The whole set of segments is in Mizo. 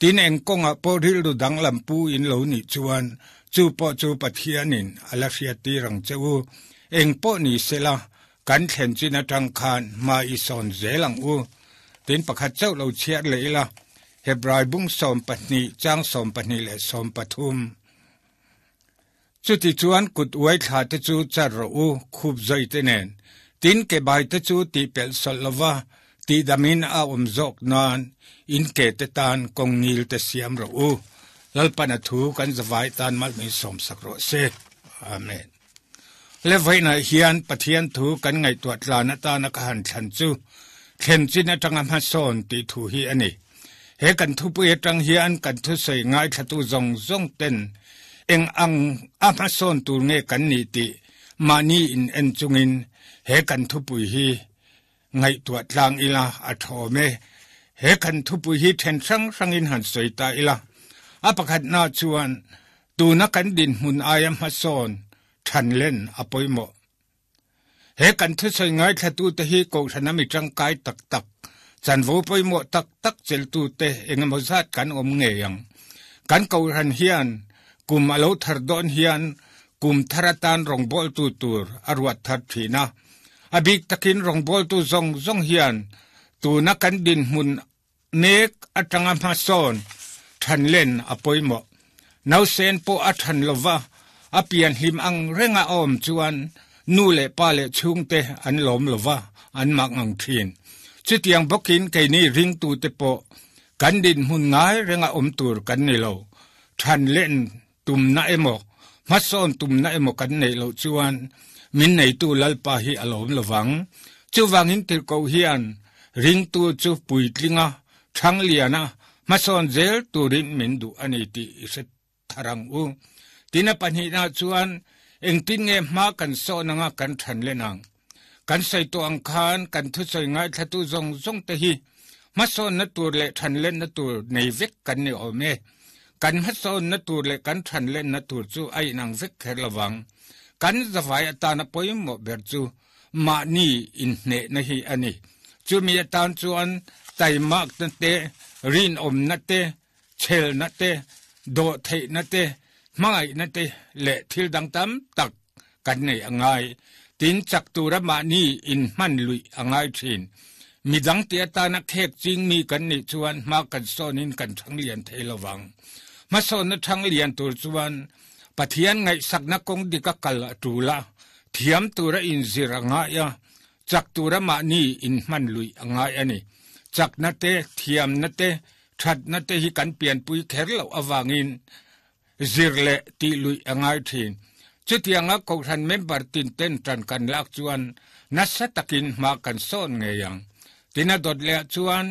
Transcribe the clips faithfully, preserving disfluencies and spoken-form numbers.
Tin eng kawnga pawh rilru danglam pu in lo nih chuan chu pawh chu Pathianin a la hriattir ang che u. Eng pawh ni sela kan thlen chin atang khan hma i sawn zel ang u. Tin pakhat chauh lo chhiar leh ila Hebrai bung sawm pahnih chang sawm pahnih leh sawm pathum. Chuti chuan kut uai thla te chu char rawh u khup zawi te nen. Tin ke bai te chu tih pelh sawlh lova tih damin a awm zawk nan in ke te tan kawng ngil te siam rawh u. Lalpan a thu kan zavai tan mal min sawm sak rawh se. Amen. Le vawiinah hian Pathian thu kan ngaihtuah tlan atana ka han thlan chu thlen chin atanga hmasawn tih thu hi a ni. He kan thupui atang hian kan thusawi ngaithlatu zawng zawng ten eng ang a hmasawn tur nge kan nih tih mahni in en chungin he kan thupui hi ngaihtuah tlang ila a thawm e. He kan thupui hi then hrang hrangin han sawi ta ila. A pakhatna chuan tuna kan dinhmun aia hmasawn than len a pawimawh. He kan thusawi ngaithlatu te hi kohhran a mi tangkai tak tak, chanvo pawimawh tak tak cheltu te engemaw zat kan awm ngei ang. Kan kohhran hian kum a lo thar dawn hian kum thar atan rawngbawltu tur a ruat thar thin a. A bik takin rawngbawltu zawng zawng hian tuna kan dinhmun mek atanga hmasawn than len a pawimawh. Nausen pawh a than lova a pian hlim ang renga awm chuan nu leh pa leh chhungte an lawm lova an mak ang thin. Chutiang bawkin keini ringtu te pawh kan dinhmun ngai renga awm tur kan ni lo. Than len tumna emaw hmasawn tumna emaw kan nei loh chuan min neitu Lalpa hi a lawm lovang. Chuvangin tirhkoh hian ringtu chu puitlinga thang liana hmasawn zel turin min duh a ni tih i hre tharang u. Tina pahnihna chuan engtin nge hma kan sawn anga kan than len ang. Kan sawi tawh ang khan kan thusawi ngaithlatu zawng zawng te hi hmasawn na tur leh than len na tur nei vek kan ni awm e. Kan hmasawn na tur leh kan than len na tur chu a inang vek kher lovang. Kan zavai atana pawimawh ber chu mahni inhneh na hi a ni. Chumi atan chuan taimak na te, rinawm na te, chhel na te, dawh theih na te, hmangaih na te leh thil dang tam tak kan nei a ngai. Tin chak tura mahni inhman luih a ngai thin. Midang ti atana khek ching mi kan nih chuan hma kan sawnin kan thang lian thei lovang. Hmasawn na thang lian tur chuan Pathian ngaihsakna kawng dik a kal a tul a, thiam tura inzir a ngai a, chak tura mahni inhman luih a ngai a ni. Chakna te, thiamna te, thatna te hi kan pianpui kher loh avangin zir leh tih luih a ngai thin. Chutianga kohhran member tin ten tan kan lak chuan nasa takin hma kan sawn ngei ang. Tina dawt leh chuan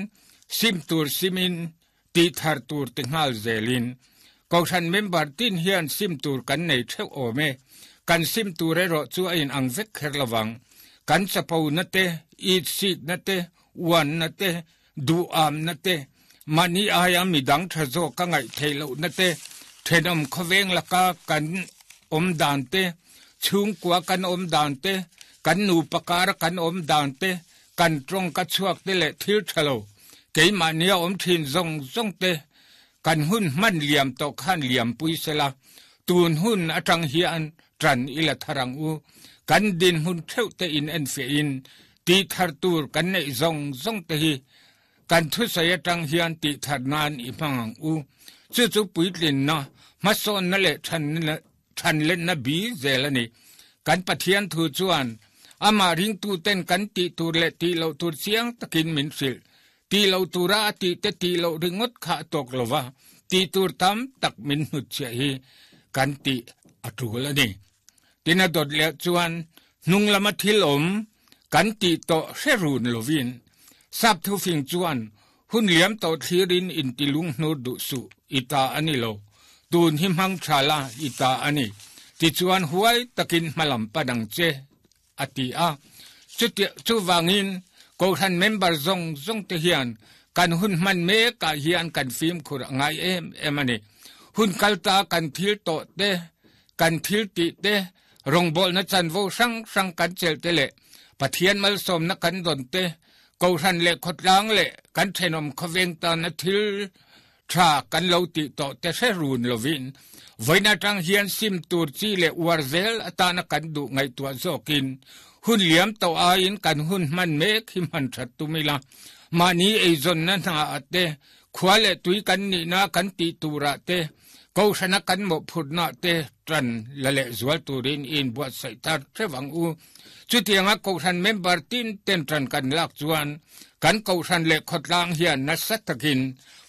sim tur simin tih thar tur ti nghal zelin. Kohhran member tin hian sim tur kan nei theuh awm e. Kan sim tur erawh chu a inang vek kher lovang. Kan chapo na te, it sik na te, uan na te, duh am na te, mahni aia midang tha zawk ka ngaih theih loh na te, thenawm khawveng laka kan awm dan te, chhungkua kan awm dan te, kan nupa kara kan awm dan te, kan tawng ka chhuak te leh thil tha lo. Keimahni a awm thin zawng zawng te, kan hun hman liam tawh khan liam pui sela. Tun hun atang hian tran ila tharang u. Kan din hun theuh te in en fe in ti thar tur kan nei zawng zawng te hi kan thusawi atang hian ti thar nan i hmang ang u. Chu chu puitlin na hmasawn na leh than than len na bi zel ani. Kan Pathian thu chuan ama ringtu ten kan ti tur leh ti lo tur chiang takin min hrilh. Ti lo tura a ti te ti lo ringot kha tawk lova ti tur tam tak min hnut chhiah hi kan ti a tul ani. Tina dawt leh chuan hnung lama thil awm kan ti tawh hre run lovin. Sap thu fing chuan hun liam tawh thlirin in ti lung hnur duh su ita ani lo. Tun hi hmang thala ita ani. Ti chuan huai takin hmalam padang che a ti a. Chu chu wangin kohhran member zawng zawng te hian kan hun hman mek ah hian kan fimkhur a ngai em em ani. Hun kalta kan thil tawh te, kan thil tih te, rawngbawlna chanvo hrang hrang kan chel te leh Pathian malsawmna kan dawn te, kohhran leh khawtlang leh kan thenawm khawveng tana thil tha kan lo ti to te hre run lovin voina tang hian sim tur chi le uar zel atana kan du ngai tua zokin hun liam to a in kan hun man mek hi man that tumila mani ei zon na na ate khwale tui kan ni na kan ti tura te ko shana kan mo phut na te tran lale zual turin in buat sai tar thewang u chutianga ko shan member tin ten tran kan lak chuan kan ko shan le khotlang hian na satakin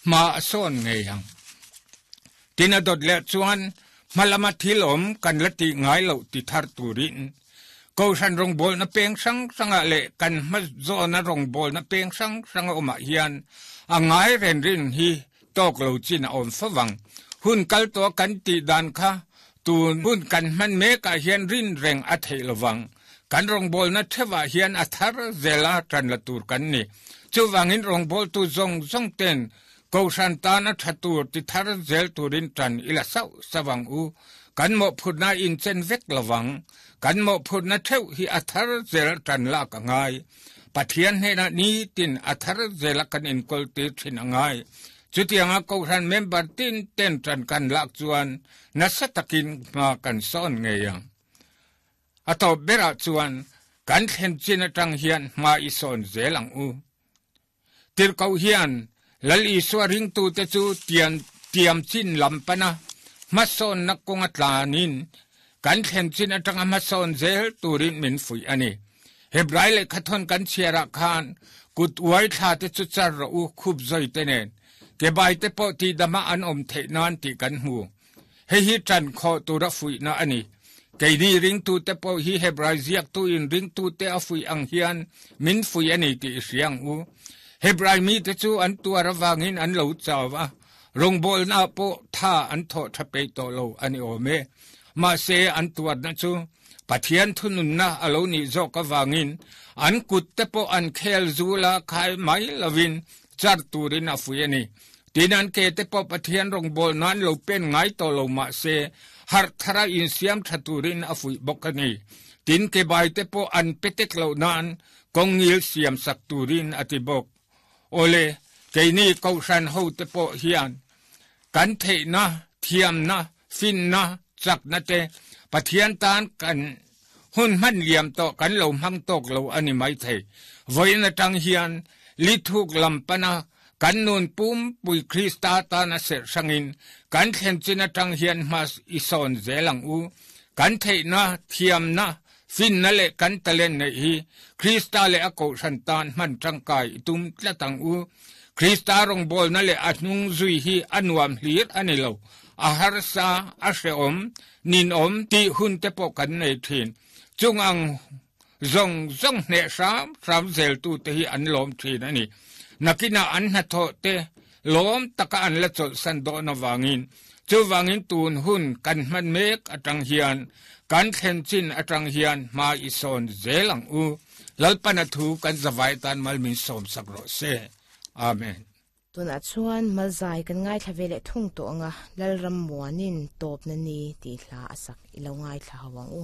ma son nge yang tina dot le chuan malama thilom kan lati ngai lo ti thar turin ko shan rong bol na peng sang sanga le kan ma zo na rong bol na peng sang sanga oma hian angai ren rin hi tok lo chin om fawang hun kal to kan ti dan kha tun hun kan man me ka hian rin reng a thei lowang kan rong bol na thewa hian a thar zela tran la tur kan ni chuwangin rong bol tu zong zong ten ko shan ta na thatur ti thar zel turin tran ila sau sawang u kan mo phutna in chen vek lowang kan mo phutna theu hi a thar zel tran la ka ngai pathian he na ni tin a thar zela kan in kol ti thin angai chutianga ko ran member tin ten tran kan lak chuan na satakin ma kan son nge yang ato bera chuan kan thlen chin atang hian ma i son zelang u tir kau hian lal i suaring tu te chu tian tiam chin lampana ma son na konga tlanin kan thlen chin atang ma son zel turin min fui ani Hebrai le khathon kan chiara khan kut uai tha te chu char ro u khup zoi te nen ke bai te po ti dama an om the nan ti kan hu he hi tran kho tu ra fui na ani ke ni ring tu te po hi Hebrai ziak tu in ring tu te a fui ang hian min fui ani ti siang u Hebrai mi te chu an tu ra wangin an lo chawa rong bol na po tha an tho thape to lo ani ome ma se an tuat na chu pathian thunun na alo ni zo ka wangin an kut te po an khel zula khai mai lawin char turin a fui ani tinan ke te po pathian rong bol nan lo pen ngai to lo ma se har thara in siam thaturin a fui bokani tin ke bai te po an petek lo nan kongil siam sak turin atibok ole keini ko shan ho te po hian kan the na thiam na fin na chak na te pathian tan kan hun man liam to kan lo mang tok lo ani mai thei voina tang hian li thuk lampana kan nun pum pui Krista ta na se sangin kan thlen china tang hian mas ison zelang u kan thei na thiam na fin na le kan talen nei hi Krista le ako shan tan man tangkai tum tlatang u Krista rong bol na le atnung zui hi anuam hlir ani lo a har sa a hreom nin om ti hun te po kan nei thin chung ang zong zong ne sam sam zel tu te hi an lom thin ani nakina an na tho te lom taka an la chol san do na wangin chu wangin tun hun kan man mek atang hian kan thlen chin atang hian ma i son zelang u lalpana thu kan zawai tan mal min som sak ro se amen tuna chuan malzai kan ngai thlavele thung to anga lalram muanin top na ni ti hla asak ilo ngai thla hawang u.